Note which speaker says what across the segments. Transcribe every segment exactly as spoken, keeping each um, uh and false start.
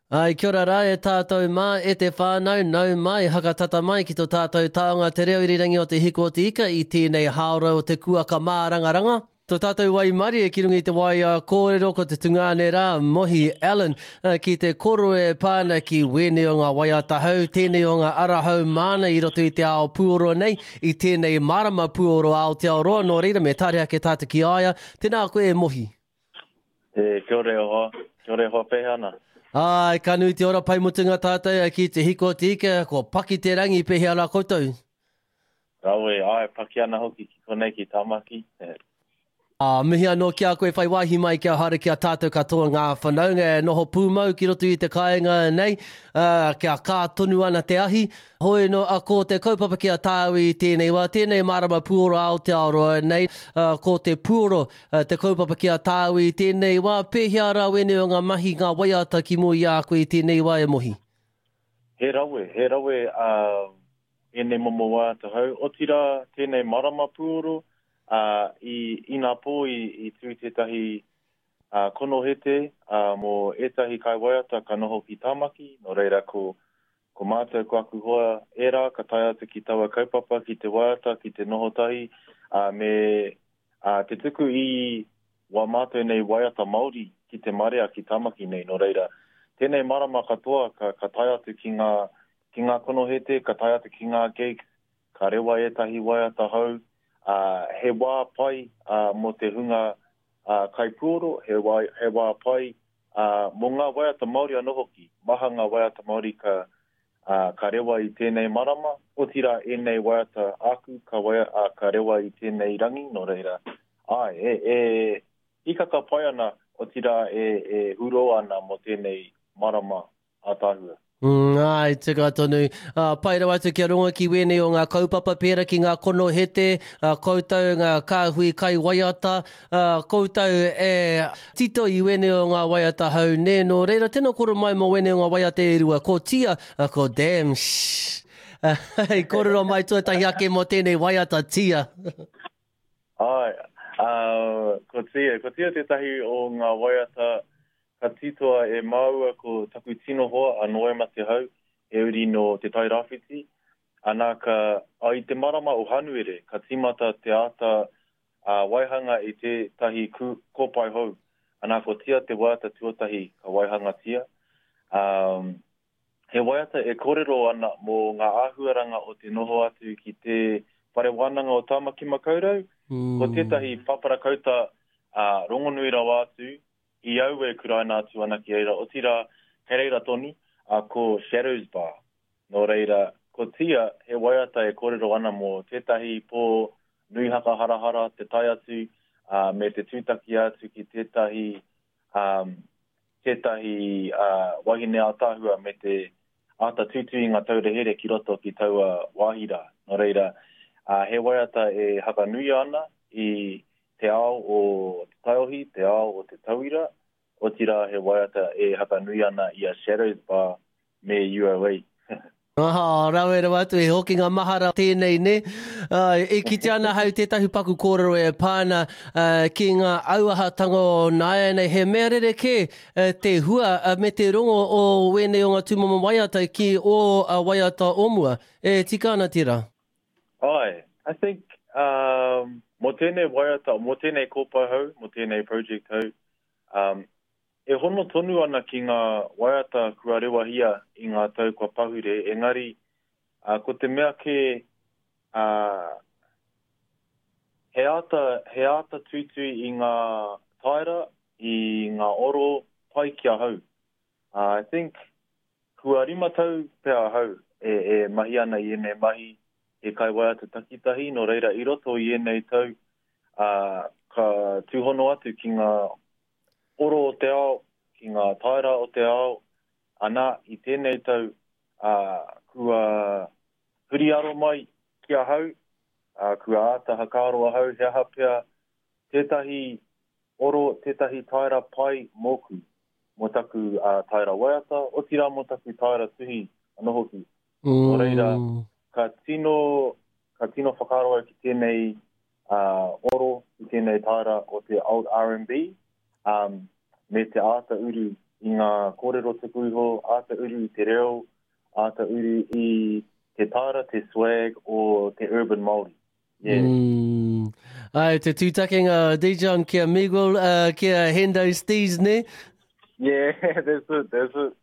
Speaker 1: Ai, kia ora rā e tātou mā, e te whānau, nau mai, hakatata mai ki tō tātou taonga te reo irirangi o Te Hiku o te Ika i tēnei hāora o te kuaka mārangaranga. Tō tātou waimarie ki runga i te waea kōrero ko te tungāne rā, Mohi Allen, ki te koro e pā ana ki wēnei o ngā waiata hou, tēnei o ngā ara hou māna i roto i te ao pūoro nei, i tēnei marama pūoro Aotearoa, nō reira me tare ake tātou ki a ia. Tēnā koe e Mohi.
Speaker 2: E, kia ora e hoa, kia ora e hoa, pēhea ana?
Speaker 1: Ai, ka nui te ora pai mutunga tātou ki Te Hiku o te Ika, ko paki te rangi, pēhea rā koutou?
Speaker 2: Rawe, ai, paki ana hoki ki konei ki Tāmaki.
Speaker 1: Ā, mihi anō ki a koe whai wāhi mai kia haere ki a tātou katoa ngā whanaunga e noho pūmau ki roto i te kāinga nei, ā, kia kā tonu ana te ahi. Hoi nō, a, ko te kaupapa ki a tāu i tēnei wā, tēnei marama puoro Aotearoa nei, ā, ko te puoro te kaupapa ki a tāu i tēnei wā, pēhea rā wēnei o ngā mahi, ngā waiata ki mua i a koe i tēnei wā e Mohi?
Speaker 2: He rawe, he rawe, ā, ēnei momo waiata hou, otirā tēnei marama puoro, ā, i inapō i, i tū tētahi ā, konohete ā, mō ētahi kaiwaiata ka noho ki Tāmaki, nō reira ko, ko mātou ko aku hoa ērā ka tae atu ki taua kaupapa, ki te waiata, ki te noho tahi, ā, me ā, te tuku i wā mātou nei waiata Māori ki te marea ki Tāmaki nei, nō reira, tēnei marama katoa ka, ka tae atu ki ngā, ki ngā konohete, ka tae atu ki ngā gigs, ka rewa ētahi waiata hou, ā, he wā pai ā, mō te hunga ā, kaipuoro, he wā, he wā pai ā, mō ngā waiata Māori anō hoki. Maha ngā waiata Māori ka, ā, ka rewa i tēnei marama, otirā ēnei waiata āku ka, waia, ā, ka rewa i tēnei rangi, nō reira, āe, e, e hikaka pai ana, otirā e, e huro ana mō tēnei marama ātaahua.
Speaker 1: Mm, āe, tika tonu. Ā, pai rawa atu kia rongo ki wēnei o ngā kaupapa pērā ki ngā konohete, ā, koutou ngā kāhui kaiwaiata, ā, koutou e tito i wēnei o ngā waiata hou nē. Nō reira, tēnā koro mai mō wēnei o ngā waiata e rua, ko Tia, ā, ko Damn, shh. Hei kōrero mai tuatahi ake mō tēnei waiata Tia.
Speaker 2: Āe, ā, ko Tia, ko Tia tētahi o ngā waiata ka titoa e māua ko taku tino hoa a Noema Te Hau, he uri nō Te Tai Rāwhiti. Anā ka, a, i te marama o Hanuere, ka tīmata te āta ā, waihanga i tētahi kū, kōpae hou. Anā ko Tia te waiata tuatahi ka waihangatia. Ā, he waiata e kōrero ana mō ngā āhuaranga o te noho atu ki te Whare Wānanga o Tāmaki Makaurau. Ko tētahi paparakauta ā, rongonui rawa atu i au e kuraina atu ana ki reira, otirā, kei reira tonu, ā, ko Shadows Bar. Nō reira, ko Tia, he waiata e kōrero ana mō tētahi pō nui hakaharahara te tae atu, ā, me te tūtaki atu ki tētahi, ā, tētahi, ā, wahine ātaahua me te āta tuitui i ngā taura here ki roto ki taua wāhi rā. Nō reira, ā, he waiata e hakanuia ana i te ao o te taiohi, te ao o te tauira, otirā he waiata e hakanui ana i a Shadows Bar me U O A.
Speaker 1: Aha, rawe rawa atu, he hokinga mahara tēnei, nē? Uh, e kite ana hau tētahi paku kōrero e pā ana uh, ki ngā auahatanga o nāianei, he mea rerekē uh, te hua uh, me te rongo o wēnei o ngā tūmomo waiata ki ō uh, waiata o mua. E tika ana tērā?
Speaker 2: Ai, I think, um, mō tēnei waiata, mō tēnei kōpae hou, mō tēnei project hou, um, e hono tonu ana ki ngā waiata kua rewahia i ngā tau kua pahure, engari, uh, ko te mea kē, uh, he āta, he āta tuitui i ngā taera, i ngā oro pai ki ahau. Uh, I think, kua rima tau pea ahau e, e mahi ana i ēnei mahi, he kaiwaiata takitahi, nō reira i roto i ēnei tau, uh, ka tūhono atu ki ngā oro o te ao, ki ngā taera o te ao, ana i tēnei tau, uh, kua huri aro mai ki ahau, uh, kua āta hakaaro ahau, he aha pea tētahi oro, tētahi taera pai mōku, mō taku uh, taera waiata, otirā mō taku taera tuhi anō hoki. Nō reira, ka tino, ka tino whakaaro au ki tēnei uh, oro, ki tēnei taera o te old R and B, um, me te āta uru i i ngā kōrero tuku iho, āta uru i te reo, āta uru i te tāra, te swag o te urban Māori. Yeah.
Speaker 1: Mm. Ai, te tūtakenga Dijon ki a Miguel, uh, ki a Hendo Steez, ne?
Speaker 2: Yeah, that's it, that's it.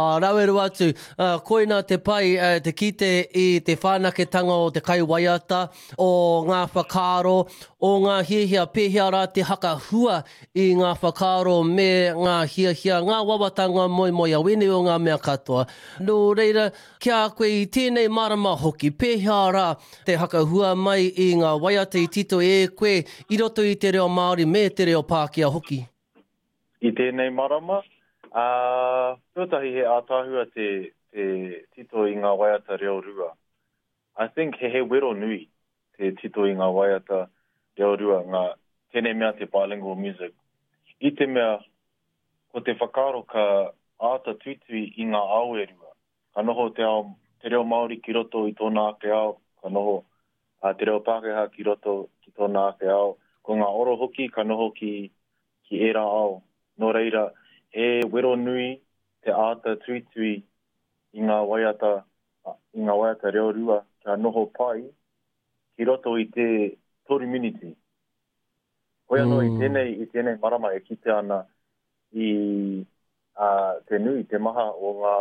Speaker 1: Uh, rawe rawa atu, uh, koina te pai uh, te kite i te whanaketanga o te kaiwaiata, o ngā whakaaro, o ngā hiahia, pēhea rā te hakahua i ngā whakaaro me ngā hiahia, ngā wawata, ngā moemoeā, wēnei o ngā mea katoa. Nō reira, ki a koe i tēnei marama hoki, pēhea rā te hakahua mai i ngā waiata i tito e koe i roto i te reo Māori me te reo Pākehā hoki?
Speaker 2: I tēnei marama, Uh, tuatahi he ātaahua te, te tito i ngā waiata reo rua. I think he he wero nui te tito i ngā waiata reo rua, ngā tēnei mea te bilingual music. I te mea, ko te whakaaro ka āta tuitui i ngā ao e rua. Ka noho te, ao, te reo Māori ki roto i tōna ake ao, ka noho uh, te reo Pākehā ki roto ki tōna ake ao. Ko ngā oro hoki ka noho ki, ki ērā ao. Nō reira, he wero nui te āta tuitui i ngā waiata, i ngā waiata reo rua kia noho pai ki roto i te toru miniti. Hoi anō mm. i tēnei, i tēnei marama e kite ana i uh, te nui, te maha o ngā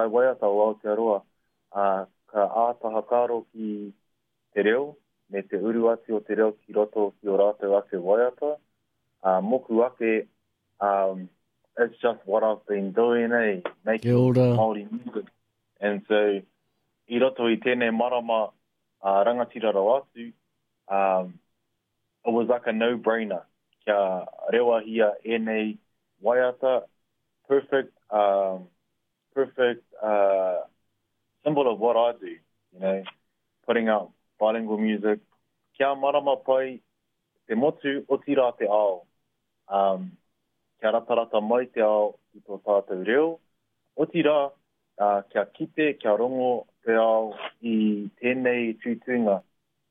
Speaker 2: kaiwaiata o Aotearoa uh, ka āta whakaaro ki te reo me te uru atu o te reo ki roto ki o rātou ake waiata. Uh, moku ake, um, it's just what I've been doing, eh? Making Māori music. And so, i roto i tēnei marama uh, rangatira rawa atu, um, it was like a no-brainer kia rewahia ēnei waiata, perfect, um, perfect uh, symbol of what I do, you know, putting out bilingual music, kia marama pai te motu, otirā te ao. Um, kia ratarata mai te ao i tō tātou reo, otirā, uh, kia kite, kia rongo te ao i tēnei tuituinga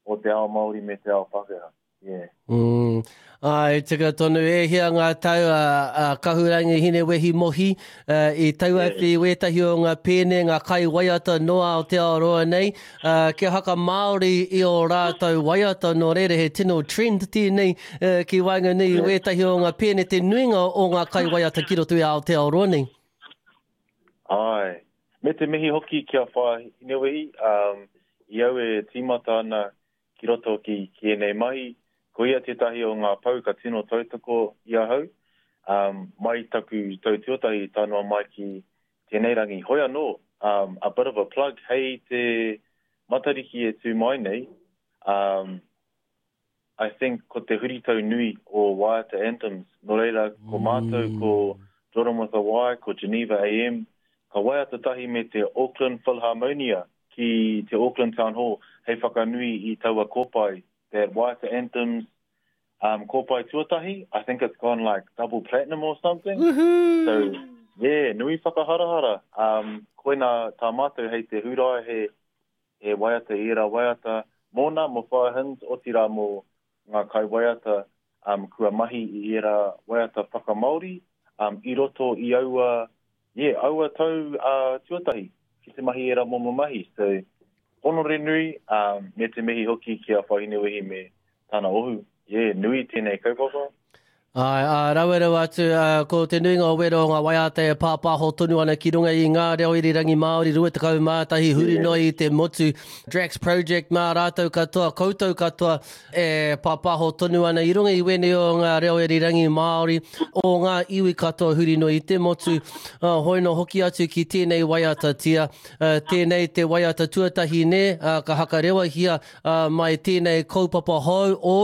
Speaker 2: o te ao Māori me te ao Pākehā. Yeah.
Speaker 1: Mm. Ai, tika tonu, e hia ngā tau a, a Kahurangi Hinewehi Mohi uh, i tau atu i wētahi o ngā pēne, ngā kai waiata no Aotearoa nei, uh, kia haka Māori i o rātou waiata nō reira he tino trend tēnei uh, ki waenganui i wētahi o ngā pēne te nuinga o ngā kai waiata ki roto i Aotearoa nei.
Speaker 2: Ai, me te mihi hoki kia wha Hinewehi, um, i au e tīmata ana ki roto ki, ki ēnei mahi, ko ia tētahi o ngā pau ka tino tautoko i ahau, um, mai taku tau tuatahi tae noa mai ki tēnei rangi. Hoi anō, um, a bit of a plug, hei te Matariki e tū mai nei, um, I think ko te huritau nui o Waiata Anthems. Nō reira, ko mātou, mm. ko Jordan with a Y, ko Geneva A M, ka waiata tahi me te Auckland Philharmonia ki te Auckland Town Hall hei whakanui i taua kōpae, that Waiata Anthems um, kōpae tuatahi. I think it's gone like double platinum or something.
Speaker 1: Woohoo!
Speaker 2: So, yeah, nui whakaharahara. Um, koina tā mātou hei te hurai he, he waiata, i era waiata mōna, mō Whaia Hins, otirā mō ngā kai waiata um, kua mahi i era waiata whakamāori um, i roto i aua, yeah, aua tau uh, tuatahi ki te mahi era momo mahi. So, honore nui, um, me te mihi hoki ki a Whahinewehi me tana ohu. Yeah, nui tēnei kaupapa.
Speaker 1: Ai, a, rawe rawa atu, uh, ko te nuinga o wero o ngā waiata e pāpāho tonu ana ki runga i ngā reo irirangi Māori rua tekau mā tahi huri noa i te motu. Drax Project mā rātou katoa, koutou katoa e pāpāho tonu ana i runga i wēnei o ngā reo irirangi Māori o ngā iwi katoa huri noa i te motu. Uh, hoi no hoki atu ki tēnei waiata tia. Uh, tēnei te waiata tuatahi ne, uh, ka hakarewahia uh, mai tēnei kaupapa hou o.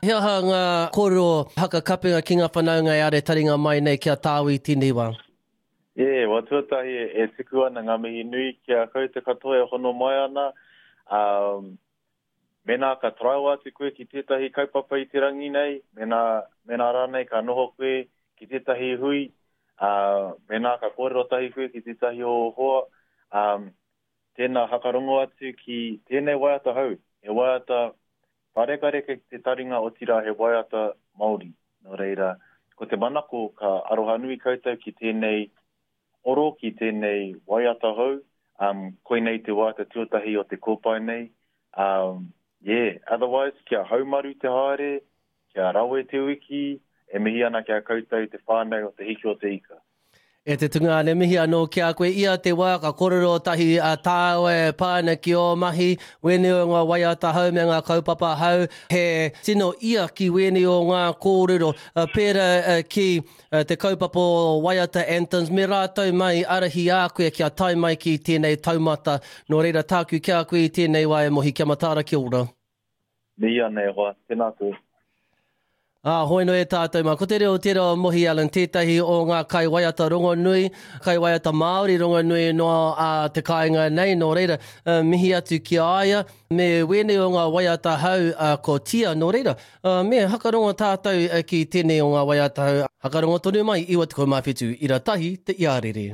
Speaker 1: He aha ngā kōrero hakakapenga ki ngā whanaunga e are taringa mai nei kia tāu i tēnei wā?
Speaker 2: Yeah, wa tuatahi e tuku ana ngā mihi nui kia koutou katoa e hono mai ana. Um, mēnā ka taraiwa atu koe ki tētahi kaupapa i te rangi nei, mēnā, mēnā rānei ka noho koe ki tētahi hui, uh, mēnā ka kōrero tahi koe ki tētahi o hoa, um, tēnā hakarongo atu ki tēnei waiata hou. He waiata parekareka ki te taringa otirā he waiata Māori. Nō reira, Ko te manako ka arohanui koutou ki tēnei oro, ki tēnei waiata hou. Um, koinei te waiata tuatahi o te kōpae nei. Um, yeah, otherwise, kia haumaru te haere, kia rawe te wiki, e mihi ana ki a koutou te whānau o Te Hiki o te Ika.
Speaker 1: E te tungāne, mihi anō ki a koe. Ia te wā ka kōrero tahi a tāua e pā ana ki ō mahi, wēnei o ngā waiata hou me ngā kaupapa hou, he tino ia ki wēnei o ngā kōrero, pērā ki te kaupapa o Waiata Anthems, me rātou mai arahi a koe kia tae mai ki tēnei taumata. Nō reira tāku ki a koe i tēnei wā e Mohi, kia mataara, kia ora.
Speaker 2: Mihi ana e hoa, tēnā koe.
Speaker 1: Ā, hoi noa e tātou mā. Ko te reo tērā o Mohi Allen tētahi o ngā kaiwaiata rongonui, kaiwaiata Māori rongonui noa a te kāinga nei, nō reira, mihi atu ki a ia, me wēnei o ngā waiata hou ko Tia, nō reira, me hakarongo tātou ki tēnei o ngā waiata hou, hakarongo tonu mai, iwa tekau mā whitu, ira tahi te iarere.